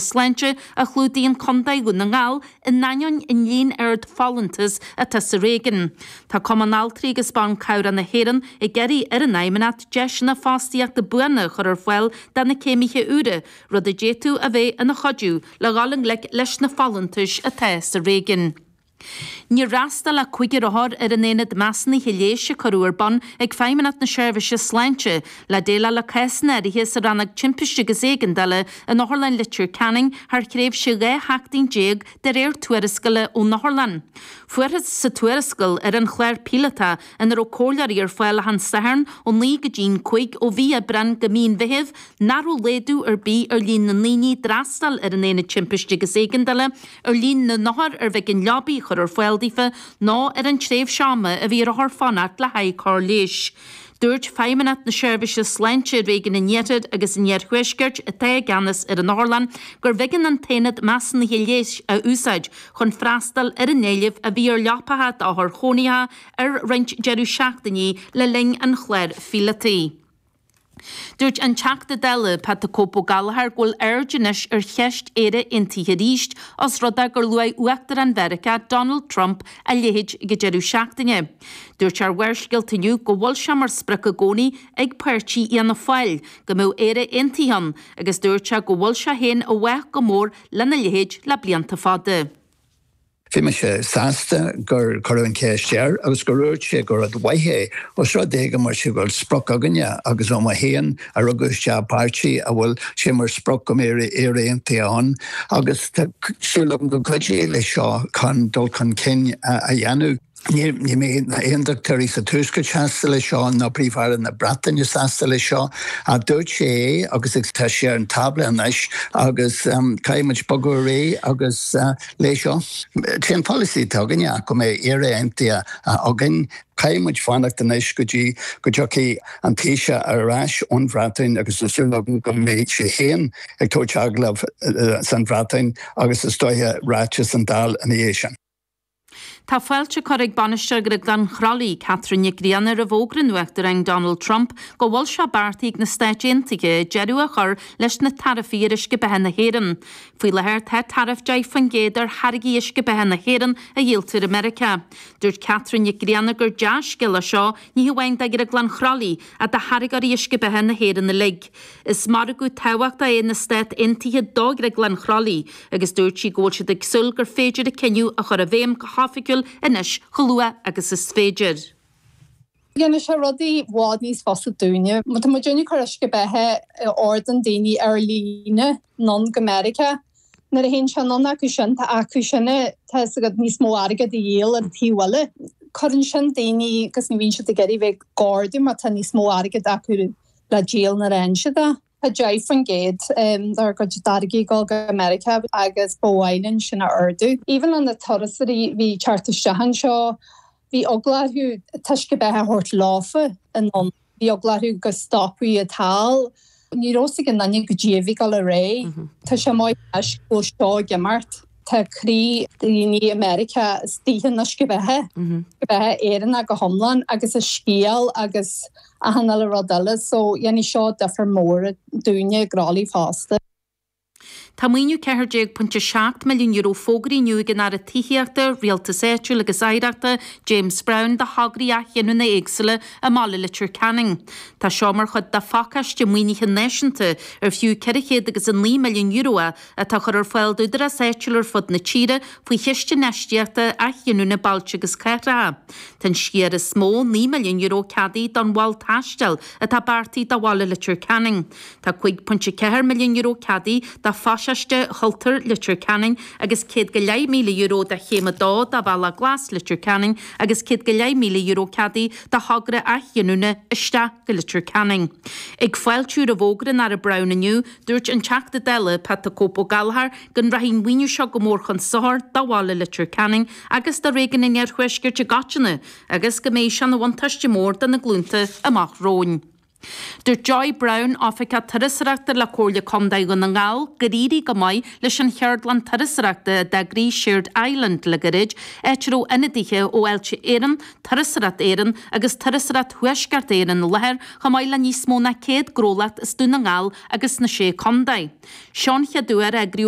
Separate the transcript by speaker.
Speaker 1: Sláinte a chlúdaíonn Contae Dhún na nGall in ainneoin an líon ard folúntas atá sa réigiún. Tá Cumann Altraí agus Ban Cabhrach na hÉireann ag iarraidh ar an Fheidhmeannacht deiseanna fostaíochta buana a chur ar fáil do na céimithe úra, rud a d'fhéadfadh a bheith ina chuidiú le dhul i ngleic leis na folúntais atá sa réigiún. Níor fhreastail ach cúigear othar ar an aonad measúnaithe leighis a cuireadh ar bun ag Feidhmeannacht na Seirbhíse Sláinte le déileáil le cásanna áirithe sa rannóg timpiste agus éigeandála in Otharlann Leitir Ceanainn thar thréimhse 12 sheachtain de réir tuarascála ón otharlann. Fuarthas sa tuarascáil ar an chlár píolótach ina raibh comhairleoirí ar fáil achan Satharn ó 9 go dtí'n 5 ó mhí Aibreáin go mí an Mheithimh nach raibh laghdú ar bith ar líon na ndaoine a d'fhreastail ar an aonad timpiste agus éigeandála ar líon na n-othar arbh éigean leabaí a chur ar fáil daofa ná ar an tréimhse ama a bhí ar othair fanacht le haghaidh cóir leighis. Dúirt Feidhmeannacht na Seirbhíse Sláinte i Réigiún an Iarthair agus an Iarthuaiscirt, atá i gceannas ar an otharlann, gurbh éigean an t-aonad measúnaithe leighis a úsáid chun freastal ar an éileamh a bhí ar leapacha d'othair chónaitheacha ar roinnt deireadh seachtainí le linn an chláir phíolótaigh. Dúirt an Teachta Dála, Pat 'The Cope' Ó Gallchóir go bhfuil aird anois ar cheist Éire Aontaithe arís os rud é gur luaigh Uachtarán Mheiriceá, Donald Trump, a leithéid ag an deireadh seachtaine. Dúirt sé ar Bharrscéalta inniu go bhfuil sé mar sprioc i gcónaí ag páirtí Fhianna Fáil go mbeadh Éire Aontaithe ann agus dúirt sé go bhfuil sé féin i bhfách go mór lena leithéid le blianta fada.
Speaker 2: Bhí mise sásta gur cuireadh an cheist air agus gur dhúirt sé gur rud mhaith é, os rud é go mbeadh sé go bhfuil sprioc againne agus ó mé féin a rugadh isteach i bpáirtí a bhfuil sé mar sprioc go mbeidh Éire Aontaithe ann agus tá súil agam go gcuideoidh leis seo chun dul chun cinn a dhéanamh. Ní mbeidh na hAontachtóirí sa Tuaisceart sásta leis seo, ná Príomh-Aire na Breataine sásta leis seo, ach dúirt sé é agus tá sé ar an tábla anois agus caithfidh muid bogadh ar aghaidh agus leis seo. Sé an polasaí atá againne ach go mbeidh Éire Aontaithe againn. Caithfidh muid fanacht anois go dtí go dtiocfaidh an Taoiseach ar ais ón Bhreatain agus tá súil agam go mbeidh sé féin ag tabhairt agallamh san Bhreatain agus is dóiche ráiteas an Dáil ina dhiaidh sin.
Speaker 1: Tá fáilte curtha ag Bainisteoir Ghrioglán Chroithlí, Catherine Nic Grianna roimh fhógra an Uachtaráin Donald Trump go bhfuil sé beartaithe ag na Stáit Aontaithe deireadh a chur leis na taraifí ar uisce beatha na hÉireann. Faoi láthair tá taraif 10% ar tháirgí uisce beatha na hÉireann a dhíoltar i Meiriceá. Dúirt Catherine Nic Grianna gur dea-scéal é seo ní hamháin do Ghrioglann Chroithlí ach do tháirgeoirí uisce beatha na hÉireann uilig. Is margadh tábhachtach é na Stát Aontaithe do Ghrioglann Chroithlí agus dúirt sí go bhfuil siad ag súil gur féidir an cinneadh a chur i bhfeidhm go hoifigiúil anois chomh luath agus is féidir.
Speaker 3: Dhéanfadh sé rudaí i bhfad níos fusa dúinne. Má tá muidinne ag cur uisce beatha a ordaíonn daoine ar líne anonn go Meiriceá, nuair a théann sé anonn acu sin, tá acu sin, tá fhios agat, níos mó airgead a dhíol ar an taobh eile. Cuireann sin daoine agus ní bhíonn siad ag iarraidh bheith ag ordú má tá níos mó airgead acu le díol nuair a fhaigheann siad é. Tá 10% dár gcuid táirgí ag dul go Meiriceá agus ba mhaith linn sin a ardú. Even le na turasóirí a bhí ag teacht isteach anseo, bhí eagla orthu an t-uisce beatha a thabhairt leofa anonn. Bhí eagla orthu go stopfaí iad thall. Ní raibh fhios ag aon duine goidé a bhí ag dul ar aghaidh. Tá sé maith anois go bhfuil seo ag imeacht. Tá croí daoine i Meiriceá istigh in uisce beatha, uisce beatha Éireannach go hiomlán agus a scéal agus achan uile rud eile so dhéanfaidh seo difear mór dúinne i gCroithlí fosta.
Speaker 1: Tá maoiniú €14.7 milliún fógraithe inniu ag an Aire Tithíochta, Rialtais Áitiúil agus Oidhreachta, James Browne, do thograí athghiniúna éagsúla i mbaile Leitir Ceanainn. Tá seo mar chuid de phacáiste maoinithe náisiúnta ar fiú €409 milliún é atá á chur ar fáil d'údaráis áitiúil ar fud na tíre faoi Chiste Infheistíochta Athghiniúna Bailte agus Cathracha. Tá an sciar is mó, €9 milliún, ceadaithe don mhol taistil atá beartaithe do bhaile Leitir Ceanainn. Tá €5.4 milliún ceadaithe do Phasáiste Chultúir Leitir Ceanainn agus €100,000 do Chéim 2 de Bhealach Glas Leitir Ceanainn agus €100,000 ceadaithe do thogra athghiniúna isteach go Leitir Ceanainn. Ag fáiltiú roimh fhógra an Aire Browne inniu, Dúirt an Teachta Dála, Pat 'The Cope' Ó Gallchóir, go rachaidh an maoiniú seo go mór chun sochair do bhaile Leitir Ceanainn agus do réigiún an Iarthuaiscirt i gcoitinne agus go mbeidh sé ina bhuntáiste mór do na glúnta amach romhainn. Dúirt Joy Browne, Oifigeach Turasóireachta le Comhairle Contae Dhún na nGall, gur éirigh go maith leis an cheardlann turasóireachta a d'eagraigh Shared Island le gairid, áit a raibh ionadaithe ó Fháilte Éireann, Turasóireacht Éireann agus Turasóireacht Thuaisceart Éireann i láthair, chomh maith le níos mó ná 100 gnólacht as Dún na nGall agus na Sé Contae. Seo an chéad uair a eagraíodh.